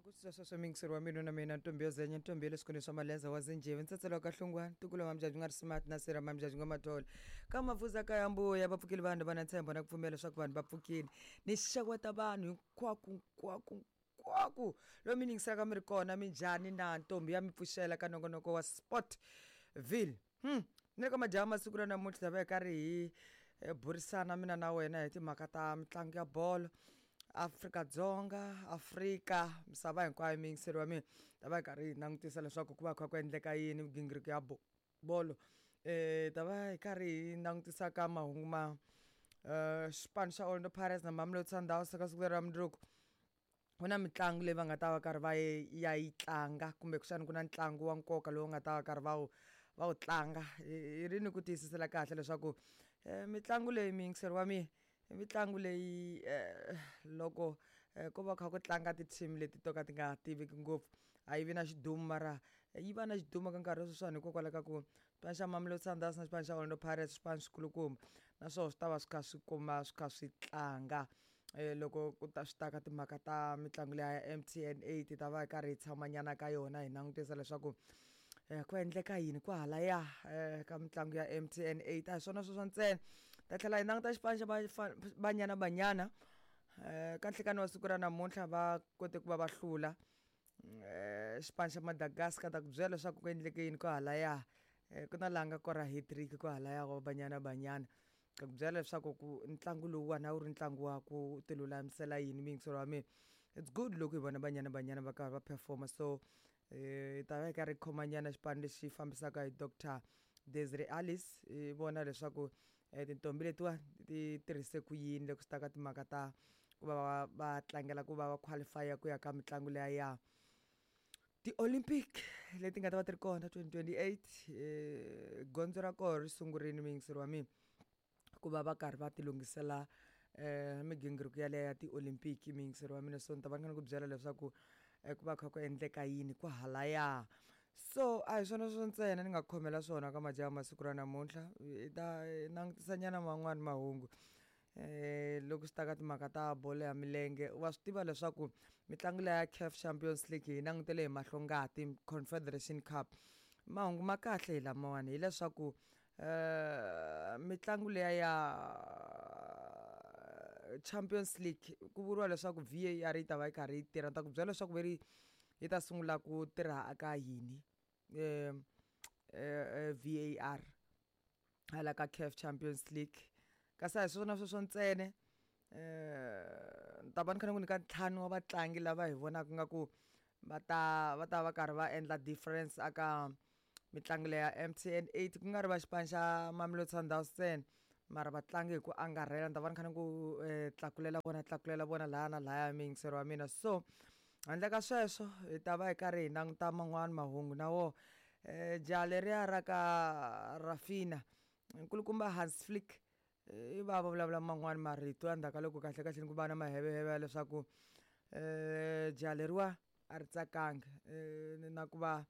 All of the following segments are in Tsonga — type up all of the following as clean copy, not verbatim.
Loko swi sweswo miyingiseri wa mina na mina ntombi yo zenya ntombi ya le swikolweni swa maleza wa zinjhevi ntsetselo wa kahlungwana ntukulu wa mambyabyi nga ri smart na sira mambyabyi nga mathole ka mavuza ka ya mbuya va pfukile vanhu va na ntshembo na ku pfumela leswaku vanhu va pfukile ni xeweta vanhu hinkwako hinkwako hinkwako lomu mi yingiselaka mi ri kona minjhani na ntombi ya mi pfuxela ka nongonoko wa sport ville ni le ka madyambu masiku ra namuntlha ta va hi karhi hi burisana mina na wena hi timhaka ta mitlangu ya bolo Afrika-Dzonga Afrika misava hinkwayo muyingiseri wa mina ta va hi karhi hi langutisa leswaku ku va kha ku endleka yini migingiriko ya bolo ta va hi karhi hi langutisa ka mahungu ma xipano xa Orlando Pirates na Mamelodi Sundowns ka siku leri ra mundzuku ku na mitlangu leyi va nga ta va karhi va ya yi tlanga kumbe kuxani ku na ntlangu wa nkoka lowu nga ta va karhi va wu va wu tlanga hi ri ni ku tiyisisela kahle leswaku mitlangu leyi muyingiseri wa mina i mitlangu leyi loko ko va kha ku tlanga ti-team leti to ka ti nga tiveki ngopfu a yi vi na xidumu mara yi va na xidumu ka nkarhi wa sweswiwani hikokwalaho ka ku xipano xa Mamelodi Sundowns na xipano xa Orlando Pirates swipano swikulukumba naswona swi ta va swi kha swi kuma swi kha swi tlanga loko ku ta swi ta ka timhaka ta mitlangu liya ya M_T_N 8 hi ta va hi karhi hi tshama nyana ka yona hi langutisa leswaku ku endleka yini kwahalaya ka mitlangu ya M_T_N 8 a hi swona sweswo ntsena ta tlhela hi languta xipano xa Banyana Banyana ka nhlekani wa siku ra namuntlha va kote ku va va hlula xipano xa Madagascar ta ku byela leswaku ku endleke yini kwahalaya ku na laha nga kora hat-trick kwahalaya wa Banyana Banyana ka ku byela leswaku ku ntlangu lowuwani a wu ri ntlangu wa ku ti lulamisela yini muyingiseri wa mina it's good loko hi vona Banyana Banyana va karhi va perform-a so hi ta va hi karhi hi khomanyana xipano lexi fambisaka hi Doctor Desiree Alice hi vona leswaku tintombi letiwani ti tirhise ku yini loko swi ta ka timhaka ta ku va va tlangela ku va va qualify ku ya ka mitlangu liya ya ti-Olympic leti nga ta va ti ri kona 2028 gondzo ra kona ri sungurile muyingiseri wa mina ku va va karhi va ti lunghisela migingiriko yaleyo ya ti-Olympic muyingiseri wa mina so ni ta va ni kha ni ku byela leswaku ku va kha ku endleka yini kwahalaya so a hi swona sweswo ntsena ni nga khomela swona ka majaha masiku ra namuntlha hi ta langutisa nyana man'wani mahungu loko swi ta ka timhaka ta bolo ya milenge wa swi tiva leswaku mitlangu leya ya CAF Champions League hi langutele hi mahlongati Confederation Cup mahungu ma kahle hi lamawani hileswaku mitlangu liya ya Champions League ku vuriwa leswaku V_A_R yi ta va yi karhi yi tirha ni ta ku byela leswaku ve ri yi ta sungula ku tirha ka yini V_A_R hala ka CAF Champions League kasi a hi swona sweswo ntsena ni ta va ni kha ni ku nyika ntlhanu wa vatlangi lava hi vonaka nga ku va ta va ta va karhi va endla difference aka mitlangu leya M_T_N 8 ku nga ri va xipano xa Mamelodi Sundowns ntsena mara vatlangi hi ku angarhela ni ta va ni kha ni ku tlakulela vona tlakulela vona laya na laya muyingiseri wa mina so handle ka sweswo hi ta va hi karhi hi languta man'wani mahungu na wona jaha leriya ra ka Rafina nkulukumba Hans Flick i va va vulavula man'wani marito endzhaku ka loko kahle kahle ku va na maheveheve ya leswaku jaha leriwa a ri tsakanga na ku va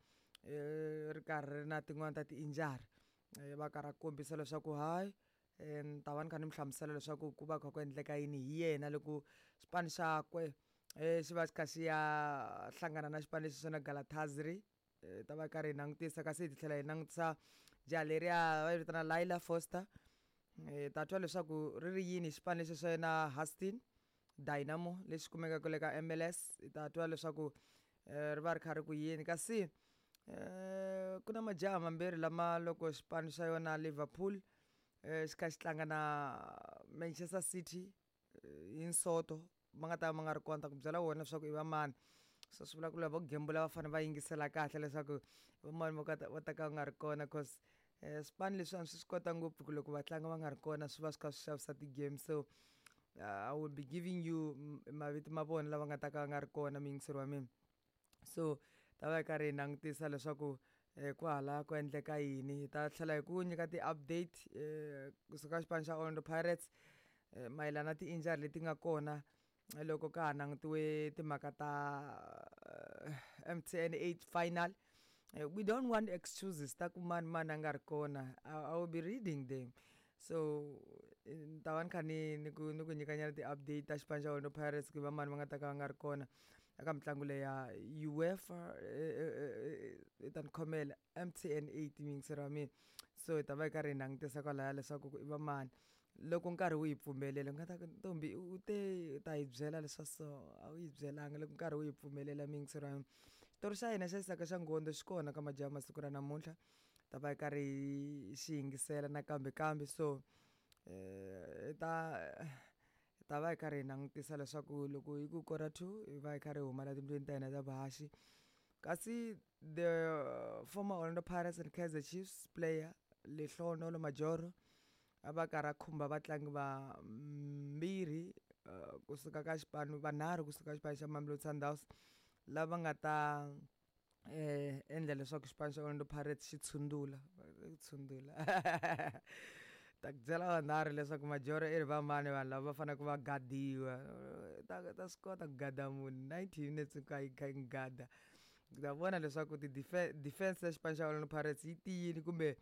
ri karhi ri na tin'wani ta ti-injury va karhi a kombisa leswaku hayi ni ta va ni kha ni mi hlamusela leswaku ku va kha ku endleka yini hi yena loko xipano xakwe xi va xi kha xi ya hlangana na xipano lexi xo na Galatasaray hi ta va karhi hi langutisa kasi hi tlhela hi langutisa jaha leriya va yi vitana Layla Foster hi ta twa leswaku ri ri yini xipano lexi xa yena Huston Dynamo lexi kumekaka le ka M_L_S hi ta twa leswaku ri va ri kha ri ku yini kasi ku na majaha mambirhi lama loko xipano xa yona Liverpool xi kha xi tlanga na Manchester City hi nsoto ma nga ta va ma nga ri kona ta ku byela wona leswaku i va mani so swi vula ku lava vo gembula va fanele va yingisela kahle leswaku va mani vo ka va ta ka va nga ri kona cause swipano leswiwani swi swi kota ngopfu ku loko vatlangi va nga ri kona swi va swi kha swi xavisa ti-game so I will be giving you mavito ma vona lava nga ta ka va nga ri kona muyingiseri wa mina so ta va hi karhi hi langutisa leswaku kwahala ku endleka yini hi ta tlhela hi ku nyika ti-update kusuka xipano xa Orlando Pirates mayelana na ti-injury leti nga kona loko ka ha langutiwe timhaka ta M_T_N 8 final we don't want excuses ta ku mani mani a nga ri kona I will be reading them so ni ta va ni kha ni ni ku ni ku nyikanyana ti-update ta xipano xa Orlando Pirates ku va mani va nga ta ka va nga ri kona. eka mitlangu leyi ya UEFA i ta ni khomela MTN 8 muyingiseri wa mina. So hi ta va hi karhi hi langutisa kwalaya leswaku i va mani loko nkarhi wu hi pfumelela. U nga ta ku ntombi u te u ta hi byela leswa so, a wu yi byelanga loko nkarhi wu hi pfumelela muyingiseri wa mina. Xitori xa hina xa Isaka xa Ngondo xi kona ka majaha masiku ra namuntlha, ta va hi karhi hi xi yingisela nakambe kambe. So hi ta va hi karhi hi langutisa leswaku loko hi ku kora 2 hi va hi karhi hi huma la tindlwini ta hina ta vuhaxi. Kasi the former Orlando Pirates and Kaizer Chiefs player Lehlohonolo Majoro a va karhi a khumba vatlangi va mbirhi kusuka ka xipano, vanharhu kusuka xipano xa Mamelodi Sundowns lava nga ta endla leswaku xipano xa Orlando Pirates xi tshundula. Tshundula ta ku byela vanharhu leswaku Majoro i ri va mani vanhu lava va faneleke va gadiwa. Ta swi kota ku gada munhu 90 minutes hinkwayo yi kha yi n'wi gada. Ta vona leswaku ti defense ya xipano xa Orlando Pirates yi tiyile kumbe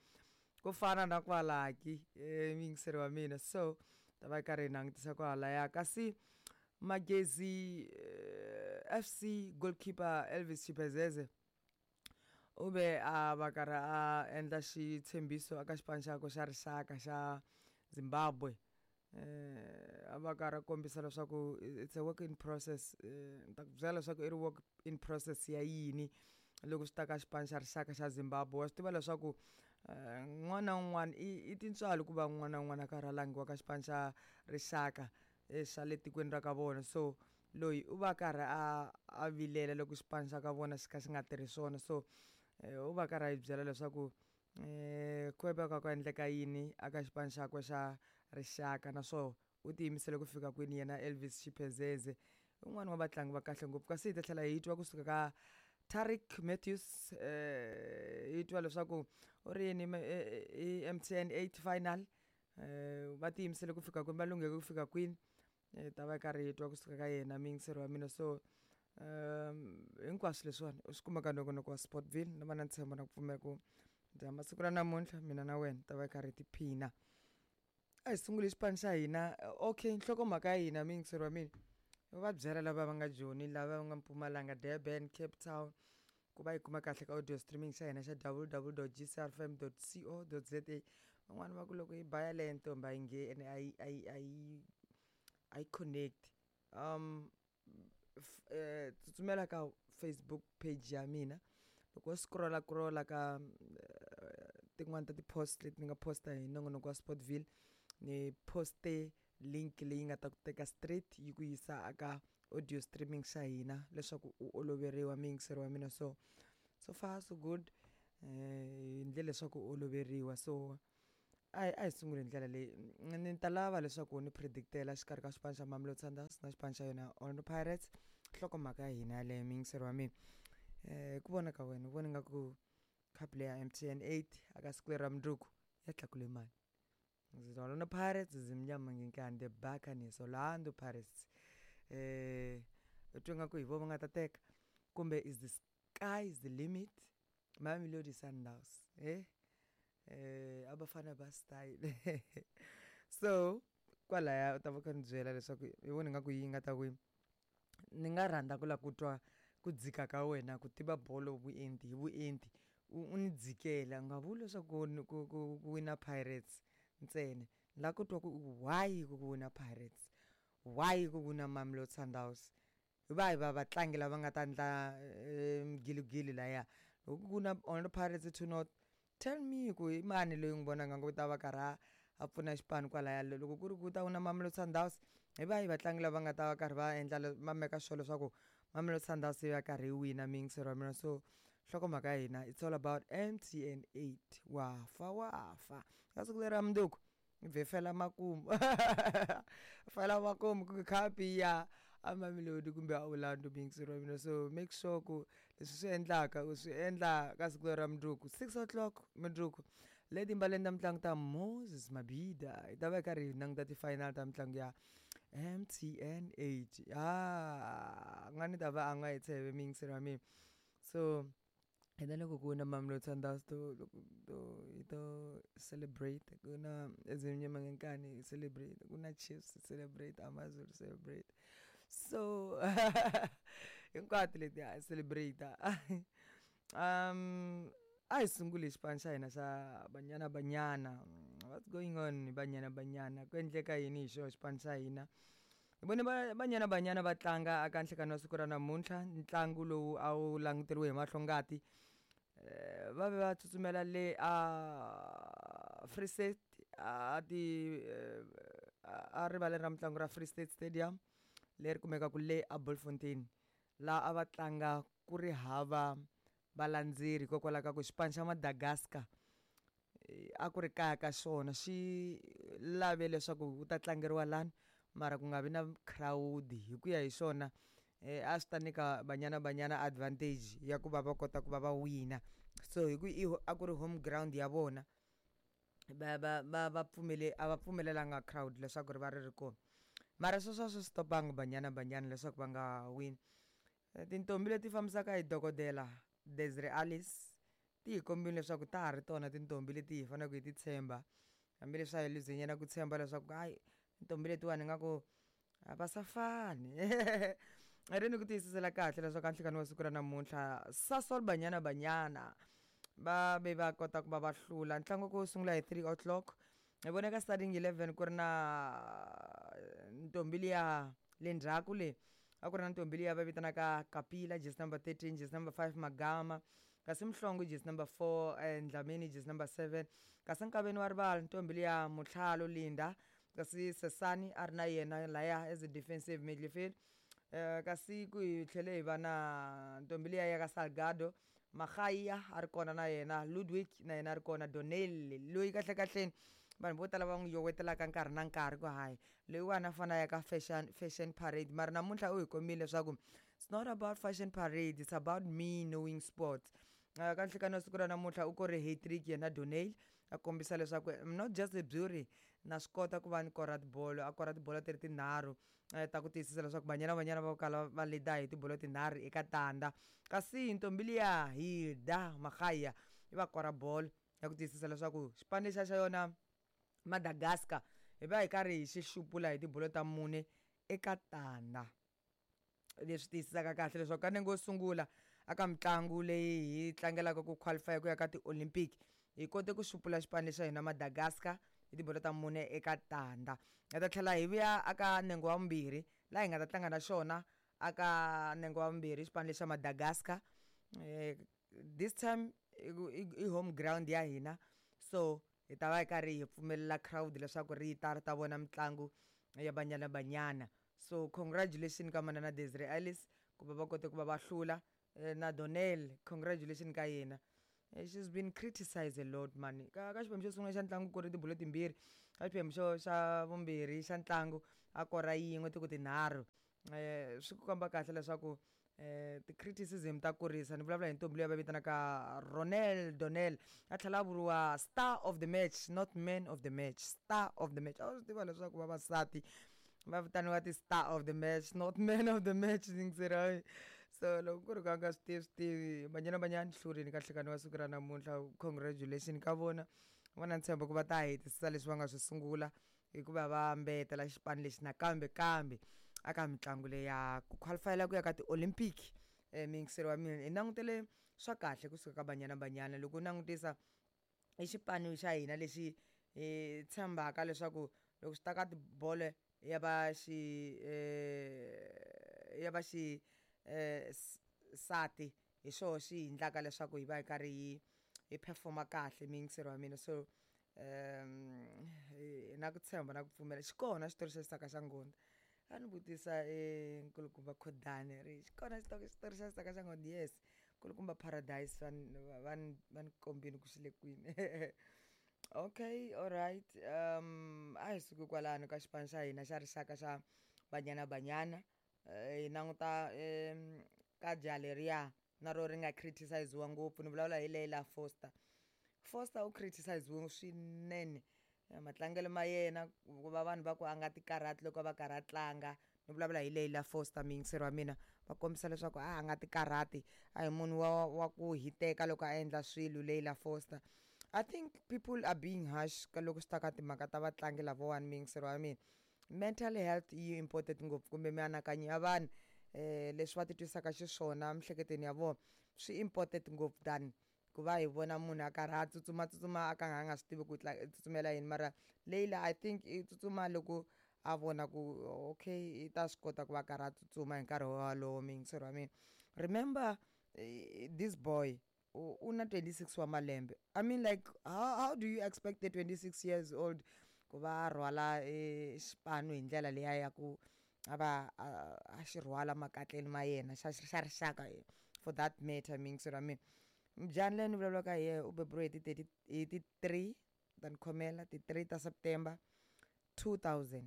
ku fana na kwalaki muyingiseri wa mina. So ta va yi karhi hi langutisa kwalaya. Kasi Magezi FC goalkeeper Elvis Chipezeze u ve a va karhi a endla xitshembiso eka xipano xakwe xa rixaka xa Zimbabwe. A va karhi a kombisa leswaku it's a work in process. Ni ta ku byela leswaku i ri work in process ya yini loko swi ta ka xipano xa rixaka xa Zimbabwe. Wa swi tiva leswaku un'wana na un'wana i tintswalo ku va un'wana na un'wana a karhi a langiwa ka xipano xa rixaka xa le tikweni ra ka vona. So loyi u va karhi a vilela loko xipano xa ka vona xi kha xi nga tirhi swona. So u va karhi a yi byela leswaku ku va ka ku endleka yini aka xipano xakwe xa rixaka, naswona u tiyimisele ku fika kwini yena Elvis Chipezeze, un'wana wa vatlangi va kahle ngopfu. Kasi hi ta tlhela hi twa kusuka ka Tariq Matthews, hi twa leswaku u ri yini i MTN 8 final, va tiyimisele ku fika kwini, va lungheke ku fika kwini. Ta va karhi hi twa kusuka ka yena muyingiseri wa mina. So hinkwaswo leswiwani u swi kuma ka nongonoko wa Sportville. Ni va na ntshembo na ku pfumela ku dya masiku ra namuntlha mina na wena ta va karhi hi tiphina. A hi sunguli xipano xa hina. Okay, nhlokomhaka ya hina muyingiseri wa mina, va byela lava va nga Joni, lava va nga Mpumalanga, Durban, Cape Town, ku va yi kuma kahle ka audio streaming xa hina xa www.gcrfm.co.za. Van'wani va ku loko yi ba yaleyo ntombi a yi ngheni, a yi connect. Tsutsumela ka Facebook page ya mina, loko wo scrolla scrolla ka tin'wani ta ti-post leti ni nga posta hi nongonoko wa Sportville, ni poste link leyi nga ta ku teka straight yi ku yisa aka audio streaming xa hina leswaku u oloveriwa muyingiseri wa mina. So so far so good, hi ndlela leswaku u oloveriwa. So a hi sunguli hi ndlela leyi. Ni ta lava leswaku ni predictela xikarhi ka xipano xa Mamelodi Sundowns na xipano xa yona Orlando Pirates, nhlokomhaka ya hina yaleyo muyingiseri wa mina. Ku vona ka wena u vona nga ku cup leyi ya MTN 8 aka siku leri ra mundzuku ya tlakule mani? Orlando Pirates, Zimnyama Ngenkani, the Buccaneers, Orlando Pirates, u twa nga ku hi vo va nga ta teka kumbe is the sky is the limit Mamelodi Sundowns? Abafana ba style. So kwalaya u ta va kha ni byela leswaku i vona nga ku yi nga ta wina. Ni nga rhandza ku lava ku twa ku dzika ka wena ku tiva bolo vuenti hi vuenti, u ni dzikela, u nga vuli leswaku ku wina Pirates ntsena. Ni lava ku twa ku why ku wina Pirates, why ku wina Mamelodi Sundowns, hi vahi va vatlangi lava nga ta endla mgiligili laya. Loko ku na Orlando Pirates to not tell me ku i mani loyi n'wi vonaka nga ku ta va karhi a pfuna xipano kwalaya. Loko ku ri ku ta wina Mamelodi Sundowns, hi vahi vatlangi lava nga ta va karhi va endla va make sure leswaku Mamelodi Sundowns yi va karhi yi wina muyingiseri wa mina. So nhlokomhaka ya hina, it's all about MTN 8. Wa fa wa fa ka siku leri ra mundzuku vhe fela makumu, fela makumu ku khapi ya a Mamelodi kumbe a Orlando muyingiseri wa mina. So make sure ku leswi swi endlaka u swi endla ka siku leri ra mundzuku 6 o'clock mundzuku le timbaleni ta mitlangu ta Moses Mabhida, hi ta va hi karhi hi languta ti-final ta mitlangu ya MTN 8. A nga ni ta va a nga hi tsheve muyingiseri wa mina. So hina loko ku wina Mamelodi Sundowns to to hi to celebrate, ku na Ezimnyama Ngenkani hi celebrate, ku na Chiefs celebrate, AmaZulu celebrate. So Hinkwato leti ha celebrate. A hi sunguli xipano xa hina xa Banyana Banyana. What's going on hi Banyana Banyana? Ku endleka yini hi xona xipano xa hina? Hi vone Banyana Banyana va tlanga aka nhlekani wa siku ra namuntlha, ntlangu lowu a wu languteriwe hi mahlongati. Va ve va tsutsumela le a Free State, a ti a rivaleni ra mitlangu ra Free State Stadium leri kumekaka le a Bultfontein, laha a va tlanga ku ri hava valandzeri hikokwalaho ka ku xipano xa Madagascar a ku ri kaya ka xona, xi lave leswaku ku ta tlangeriwa lani mara ku nga vi na crowd. Hi ku ya hi xona a swi ta nyika Banyana Banyana advantage ya ku va va kota ku va va wina. So hi ku i a ku ri home ground ya vona, va va va va pfumele a va pfumelelanga crowd leswaku ri va ri ri kona, mara sweswo a swi stopanga Banyana Banyana leswaku va nga wini. Tintombi leti fambisaka hi dokodela Desiree Alice ti hi kombile leswaku ta ha ri tona tintombi leti hi faneleke hi ti tshemba, hambileswi a hi luzenyana ku tshemba leswaku hayi, tintombi letiwani ingaku a va sa fani. Ri ni ku tiyisisela kahle leswaku a nhlekani wa siku ra namuntlha Sasol Banyana Banyana va ve va kota ku va va hlula ntlangu ku sungula hi 3 o'clock. Hi vone ka starting 11 ku ri na ntombi liya le ndzhaku le, a ku ri na ntombi liya va vitanaka Kapila, jersey number 13, jersey number 5 Magama, kasi Mhlongo jersey number 4, Dlamini jersey number 7, kasi nkaveni wa rivala ntombi liya Mutlhalo Linda, kasi Sesani a ri na yena laya as a defensive midfield. Kasi ku hi tlhele hi va na ntombi liya ya ka Salgado Magaya a ri kona na yena, Ludwig na yena a ri kona, Donel loyi kahle kahleni vanhu vo tala va n'wi yowetelaka nkarhi na nkarhi ku hayi loyiwani a fanele a ya ka fashion parade, mara namuntlha u hi kombile leswaku it's not about fashion parade, it's about me knowing sports. Ka nhlekani wa siku ra namuntlha u kore hat-trick yena Donel, a kombisa leswaku I'm not just a beauty, na swi kota ku va ni kora tibolo. A kora tibolo ti ri tinharhu ta ku tiyisisa leswaku Banyana Banyana va kala va leada hi tibolo tinharhu eka tandza. Kasi ntombi liya Hilda Magaya yi va kora bolo ya ku tiyisisa leswaku xipano lexiya xa yona Madagascar hi va hi karhi hi xi xupula hi tibolo ta mune eka tandza, leswi tiyisisaka kahle leswaku ka nenge wo sungula aka mitlangu leyi hi tlangelaka ku qualify ku ya ka ti-Olympic hi kote ku xupula xipano lexa hina Madagascar hi tibolo ta mune eka tandza. Hi ta tlhela hi vuya aka nenge wa vumbirhi laha hi nga ta tlanga na xona aka nenge wa vumbirhi xipano lexa Madagascar. This time i home ground ya hina, so hi ta va hi karhi hi pfumelela crowd leswaku ri ta ri ta vona mitlangu ya Banyana Banyana. So congratulations ka manana Desiree Alice ku va va kote ku va va hlula, na Donel congratulations ka yena. She's been criticized a lot man. Ka xiphemu xo sungula xa ntlangu ku ri tibolo timbirhi, ka xiphemu xo xa vumbirhi xa ntlangu a kora yin'we tiku tinharhu. Swi ku komba kahle leswaku ti-criticism ta kurisa. Ni vulavula hi ntombi leyi va vitanaka Ronel Donel, a tlhela a vuriwa star of the match, not man of the match, star of the match. A wu swi tiva leswaku vavasati va vitaniwa ti-star of the match, not man of the match, yingiseri. So loko ku ri ka nga swi tivi swi tivi, Banyana Banyana hlurini ka nhlekani wa siku ra namuntlha, congratulation ka vona. Va na ntshembo ku va ta hetisisa leswi va nga swi sungula hikuva va mbetela xipano lexi nakambe kambe aka mitlangu leyi ya ku qualifyela ku ya ka ti-Olympic. Miyingiseri wa mina, hi langutele swa kahle kusuka ka Banyana Banyana. Loko u langutisa i xipano xa hina lexi hi tshembaka leswaku loko swi ta ka tibolo ya va xi ya va xi sati hi xoho xi hi endlaka leswaku hi va hi karhi hi performa kahle, miyingiseri wa mina. So hi na ku tshemba na ku pfumela xi kona xitori xa Xisaka xa Nghondi. A ni vutisa nkulukumba Khodani ri xi kona xitori xa Xisaka xa Nghondi? Yes, nkulukumba Paradise va ni kombile ku xi le kwini. Okay, all right. A hi suki kwalano ka xipano xa hina xa rixaka xa Banyana Banyana, hi languta ka jaha leriya na ro ri nga criticiziwa ngopfu. Ni vulavula hi Leila Foster. Foster u criticiziwe swinene matlangelo ma yena, ku va vanhu va ku a nga ti karhati loko va karhi a tlanga. Ni vulavula hi Leila Foster, miyingiseri wa mina, va kombisa leswaku a nga ti karhati, a hi munhu wa ku hiteka loko a endla swilo Leila Foster. I think people are being harsh ka loko swi ta ka timhaka ta vatlangi lavawani, miyingiseri wa mina. Mental health yi important ngopfu, kumbe mianakanyo ya vanhu. Leswi va titwisaka xiswona miehleketweni ya vona swi important ngopfu than ku va hi vona munhu a karhi a tsutsumatsutsuma a ka a nga swi tivi ku tsutsumela yini. Mara Leyila, I think i tsutsuma loko a vona ku okay, i ta swi kota ku va a karhi a tsutsuma hi nkarhi wolowo. Muyingiseri wa mina, remember, this boy u na 26 wa malembe. I mean, like, how do you expect a 26 years old ku va a rhwala xipano hi ndlela liya ya ku a va a xi rhwala makatleni ma yena xa rixaka, for that matter? Muyingiseri wa mina, mujani leyi ni vulavulaka hi yena u beburiwe hi ti 30, hi ti 3, ta ni khomela, ti 3 ta September 2000.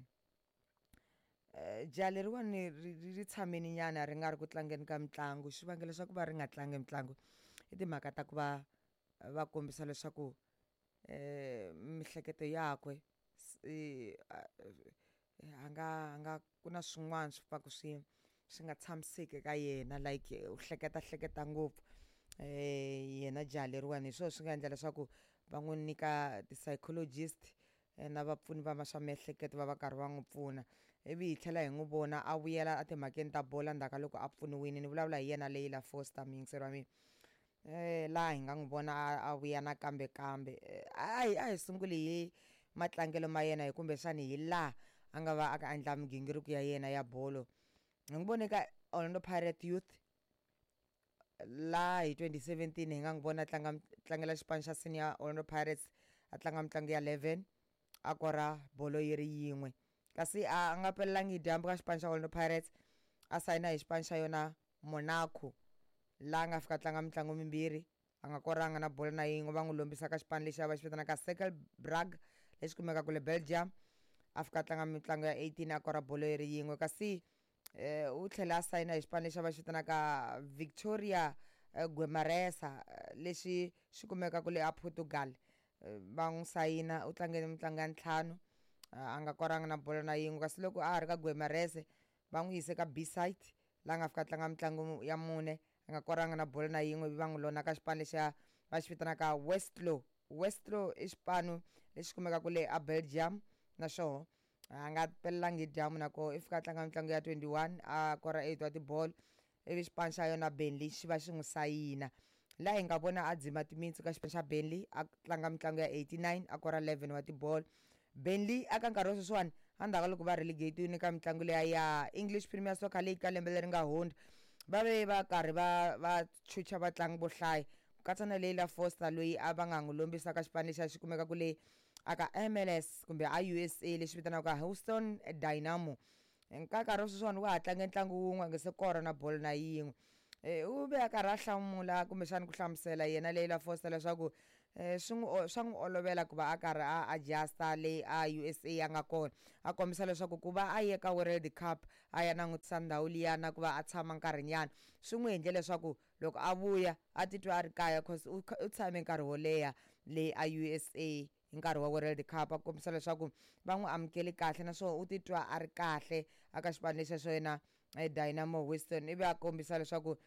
Jaha leriwani ri tshameni nyana ri nga ri ku tlangeni ka mitlangu. Xivangelo xa ku va ri nga tlangi mitlangu i timhaka ta ku va va kombisa leswaku mihleketo yakwe a nga ku na swin'wana swi pfaku swi nga tshamiseki ka yena, like u hleketa hleketa ngopfu. Yena jaha leriwani, hi swona swi nga endla leswaku va n'wi nyika ti-psychologist na vapfuni va swa miehleketo, va va karhi va n'wi pfuna, ivi hi tlhela hi n'wi vona a vuyela etimhakeni ta bolo ndzhaku ka loko a pfuniwile. Ni vulavula hi yena Leyila Foster, muyingiseri wa mina, laha hi nga n'wi vona a vuya nakambe. Kambe a hi sunguli hi matlangelo ma yena, hi kumbexani hi laha a nga va a ka endla migingiriko ya yena ya bolo. Hi n'wi vone ka Orlando Pirate Youth la hi 2017. Hi nga n'wi vona a tlanga, tlangela xipano xa senior Orlando Pirates, a tlanga mitlangu ya 11, a kora bolo yi ri yin'we. Kasi a nga pelelangi hi dyambu ka xipano xa Orlando Pirates, a sayina hi xipano xa yona Monaco, laha a nga fika tlanga mitlangu mimbirhi, a nga koranga na bolo na yin'we. Va n'wi lombisa ka xipano lexi a va xi vitanaka Cercle Brugge, lexi kumekaka le Belgium. A fika tlanga mitlangu ya 18, a kora bolo yi ri yin'we. Kasi u tlhela a sayina hi xipano lexi a va xi vitanaka Victoria Guimarães, lexi xi kumekaka le a Portugal. Va n'wi sayina, u tlangele mitlangu ya ntlhanu, a nga koranga na bolo na yin'we. Kasi loko a ha ri ka Guimarães, va n'wi yise ka B-side, laha nga fika tlanga mitlangu ya mune, a nga koranga na bolo na yin'we. Ivi va n'wi lona ka xipano lexiya va xi vitanaka Westerlo. Westerlo i xipano lexi kumekaka le a Belgium, na xoho a nga pelelangi hi dyambu na koho. I fika a tlanga mitlangu ya 21, a kora 8 wa tibolo. Ivi xipano xa yona Burnley xi va xi n'wi sayina, laha hi nga vona a dzima timitsu ka xipano xa Burnley, a tlanga mitlangu ya 89, a kora 11 wa tibolo. Burnley aka nkarhi wa sweswiwani, endzhaku ka loko va relegate ka mitlangu leya ya English Premier Soccer League ka lembe leri nga hundza, va ve va karhi va chucha vatlangi vo hlaya, ku katsa na Leyila Foster, loyi a va nga n'wi lombisa ka xipano lexi a xi kumeka le aka MLS kumbe a USA, lexi vitaniwaka Houston Dynamo. Ka nkarhi wa sweswiwani wa ha tlanga ntlangu wun'we, a nga se kora na bolo na yin'we. U ve a karhi a hlamula, kumbexani ku hlamusela yena Leyila Foster leswaku swi n'wi swa n'wi olovela ku va a karhi a adjusta leyi a USA a nga kona. A kombisa leswaku ku va a ye ka World Cup, a ya langutisa ndhawu liya, na ku va a tshama nkarhinyana, swi n'wi endle leswaku loko a vuya a titwa a ri kaya, cause u tshame nkarhi wo leha le a USA hi nkarhi wa World Cup. A kombisa leswaku va n'wi amukele kahle, naswona u titwa a ri kahle aka xipano lexiya xo yena Dynamo Houston. Ivi a kombisa leswaku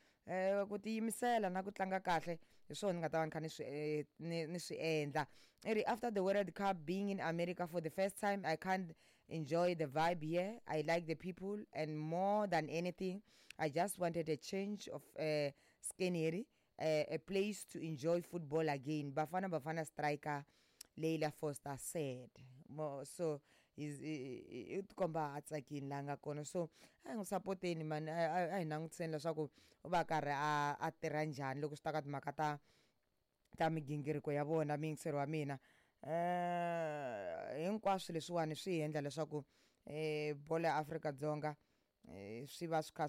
ku tiyimisela na ku tlanga kahle hi swona ni nga ta va ni kha ni swi endla. I ri, "After the World Cup, being in America for the first time, I can't enjoy the vibe here. I like the people, and more than anything, I just wanted a change of scenery, a place to enjoy football again," Bafana Bafana striker Leila Foster said. So i tikomba a tsakini laha nga kona. So a hi n'wi sapoteni mani, a hi langutiseni leswaku u va karhi a tirha njhani loko swi ta ka timhaka ta migingiriko ya vona. Muyingiseri wa mina, hinkwaswo leswiwani swi hi endla leswaku bolo ya Afrika-Dzonga swi va swi kha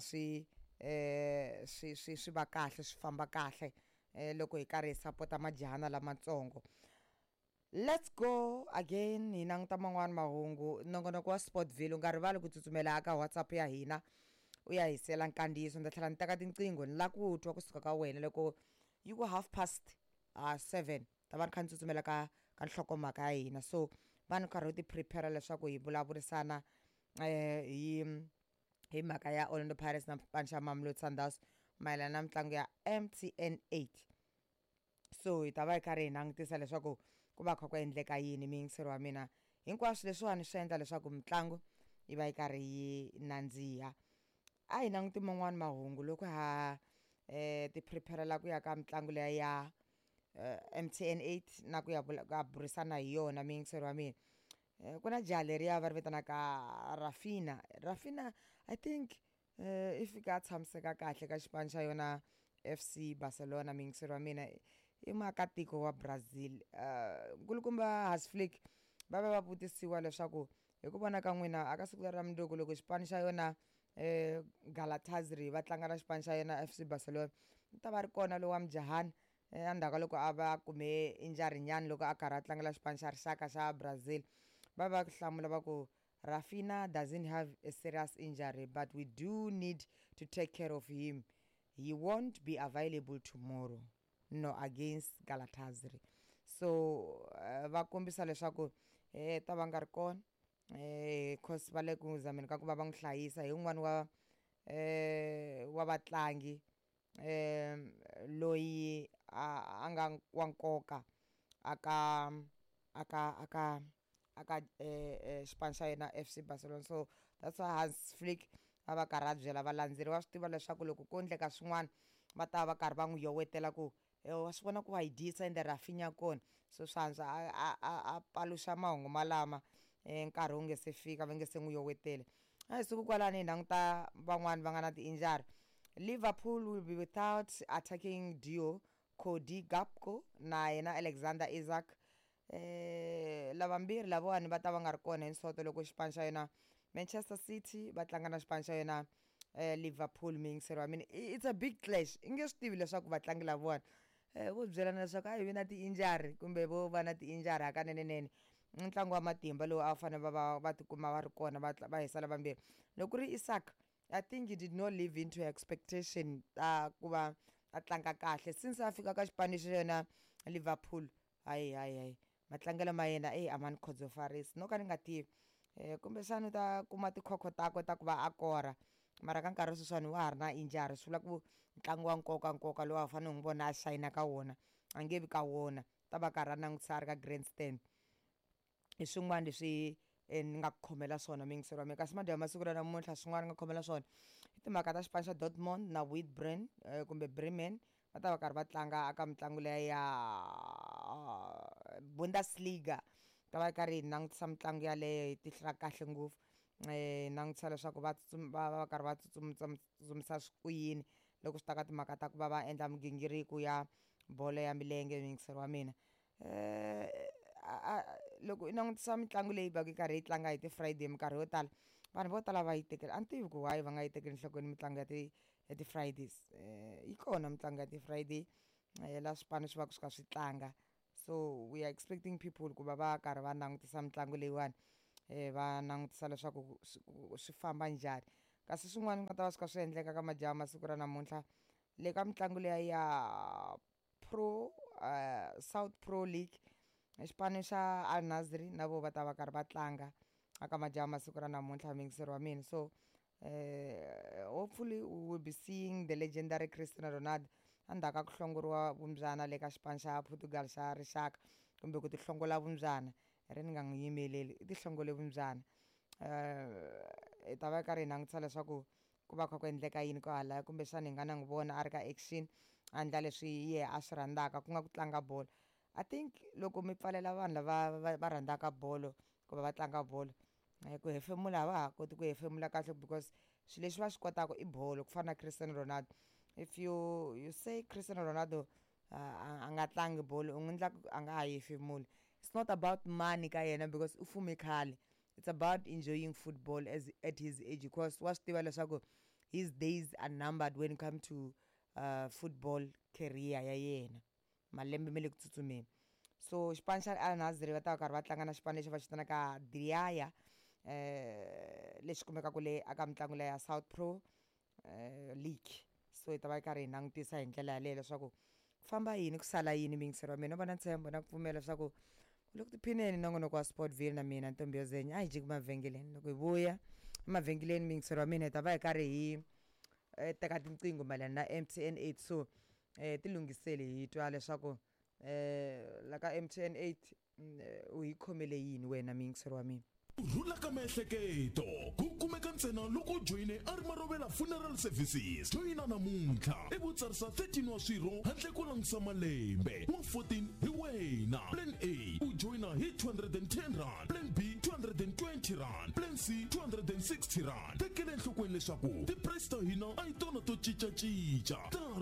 swi va kahle, swi famba kahle loko hi karhi hi sapota majahana lamatsongo. Let's go again, hi languta man'wani mahungu. Nongonoko wa Sportville, u nga rivali ku tsutsumela ka WhatsApp ya hina, u ya hisela nkandziyiso. Ni ta tlhela ni teka tinqingho, ni lava ku twa kusuka ka wena. Loko yi ku half past 7, ta va ni kha ni tsutsumela ka nhlokomhaka ya hina. So va ni karhi u ti prepare leswaku hi vulavurisana hi mhaka ya Orlando Pirates na xipano xa Mamelodi Sundowns mayelana na mitlangu ya MTN 8. So hi ta va hi karhi hi langutisa leswaku ku va kha ku endleka yini. Muyingiseri wa mina, hinkwaswo leswiwani swi endla leswaku mitlangu yi va yi karhi yi nandziha. A hi languti man'wani mahungu loko ha ti prepare-la ku ya ka mitlangu liya ya MTN 8 na ku ya ya burisana hi yona muyingiseri wa mina. Ku na jaha leriya va ri vitanaka Raphinha. Raphinha I think i fika a tshamiseka kahle ka xipano xa yona FC Barcelona. Muyingiseri wa mina i muakatiko wa Brazil. Nkulukumba Hans Flick va va va vutisiwa leswaku hi ku vona ka n'wina a ka siku leri ra mundzuku loko xipano xa yona Galatasaray va tlanga na xipano xa yona FC Barcelona, u ta va ri kona lowa mujahani endzhaku ka loko a va kume injury nyana loko a karhi a tlangela xipano xa rixaka xa Brazil. Va va hlamula va ku Raphinha doesn't have a serious injury, but we do need to take care of him. He won't be available tomorrow, no, against Galatasaray. So va kombisa leswaku ta va nga ri kona cause va le ku zameni ka ku va va n'wi hlayisa. Hi wun'wani wa vatlangi loyi a nga wa nkoka aka aka aka aka xipano xa yena FC Barcelona. So that's why Hans Flick a va karhi a byela valandzeri, va swi tiva leswaku loko ko endleka swin'wana va ta va karhi va n'wi yowetela ku wa swi vona ku wa hi dyisa ende Raphinha kona. So swa antswa a paluxa mahungu malama nkarhi wu nge se fika, va nge se n'wi yoweteli. A hi suki kwalani hi languta van'wani va nga na ti-injury. Liverpool will be without attacking duo Cody Gakpo na yena Alexander Isak. Lavambirhi lavawani va ta va nga ri kona hi Sonto loko xipano xa yona Manchester City va tlanga na xipano xa yona Liverpool. Muyingiseri wa mina, it's a big clash. I nge swi tivi leswaku vatlangi lavawani vo byelana leswaku a hi vi na ti-injury kumbe vo va na ti-injury hakanenenene. I ntlangu wa matimba lowu a va fanele va va va tikuma va ri kona va hisa lavambirhi. Loko ku ri Isak, I think he did not live into expectation ta ku va a tlanga kahle since a fika ka xipano xa yona Liverpool. Hayi hayi hayi, matlangelo ma yena eyi a ma ni khotsofarisi, no ka ni nga tivi kumbexana u ta kuma tikhokho takwe ta ku va a kora, mara ka nkarhi wa sweswiwani wa ha ri na injury. Swi vula ku ntlangu wa nkoka nkoka lowu a fanele u n'wi vona a shayina ka wona a nge vi ka wona, ta va karhi a langutisa a ri ka grandstand. Hi swin'wana leswi ni nga ku khomela swona muyingiseri wa mina. Kasi madyambu masiku ra namuntlha swin'wana ni nga khomela swona i timhaka ta xipano xa Dortmund na Witbren kumbe Bremen, va ta va karhi va tlanga aka mitlangu liya ya Bundesliga. Ta va karhi hi langutisa mitlangu yaleyo hi tihlo ra kahle ngopfu, hi langutisa leswaku va va va karhi va tsutsumisa ku yini loko swi ta ka timhaka ta ku va va endla migingiriko ya bolo ya milenge. Muyingiseri wa mina, loko i langutisa mitlangu leyi va ka yi karhi yi tlanga hi ti-Friday, minkarhi yo tala vanhu vo tala va yi tekela, a ni tivi ku why va nga yi tekeli enhlokweni mitlangu ya ti-Fridays. Yi kona mitlangu ya ti-Friday la swipano swi va swi kha swi tlanga, so we are expecting people ku va va karhi va langutisa mitlangu leyiwani, va langutisa leswaku swi famba njhani. Kasi swin'wana nga ta va swi kha swi endleka ka madyambu masiku ra namuntlha le ka mitlangu liya ya Pro South Pro League, xipano xa Al Nassr na vo va ta va karhi va tlanga aka madyambu masiku ra namuntlha, muyingiseri wa mina. So hopefully we will be seeing the legendary Cristiano Ronaldo endzhaku ka ku hlongoriwa vumbyana le ka xipano xa Portugal xa rixaka, kumbe ku tihlongola vumbyana, ri ni nga n'wi yimeleli, i tihlongole vumbyana. Hi ta va karhi hi langutisa leswaku ku va kha ku endleka yini kwahalaya, kumbexana hi nga na n'wi vona a ri ka action a endla leswi yehe a swi rhandzaka, ku nga ku tlanga bolo. I think loko mi pfalela vanhu lava va rhandzaka bolo ku va va tlanga bolo, ku hefemula a va ha koti ku hefemula kahle, because swilo leswi va swi kotaka i bolo, ku fana na Cristiano Ronaldo. If you say Cristiano Ronaldo a nga tlangi bolo, u n'wi endla a nga ha hefemuli. It's not about money ka yena because u fume khale, it's about enjoying football as at his age, because wa swi tiva leswaku his days are numbered when it come to football career ya yena, malembe ma le ku tsutsumeni. So xipano xa Al Nassr va ta va karhi va tlanga na xipano lexi va xi vitanaka Diriyah, lexi kumekaka le aka mitlangu leya ya South Pro League. So hi ta va hi karhi hi langutisa hi ndlela yaleyo leswaku ku famba yini, ku sala yini. Muyingiseri wa mina, va na ntshembo na ku pfumela leswaku u le ku tiphineni nongonoko wa Sportville na mina Ntombi yo Zenya. A hi jiki mavhengeleni, loko hi vuya emavhengeleni muyingiseri wa mina hi ta va hi karhi hi teka tinqingho mayelana na MTN 8. So tilunghiseli hi twa leswaku la ka MTN 8 u hi khomele yini wena muyingiseri wa mina. Ku rhula ka miehleketo ku kumeka ntsena loko u joyine a ri Marovela Funeral Services. Joyina namuntlha ivi u tsarisa 13 wa swirho handle ko langusa malembe. Wa 14 hi wena. Plan A u joyina hi R210, Plan B R220, Plan C R260. Tekela enhlokweni leswaku ti-price ta hina a hi tona to cincacinca. Ta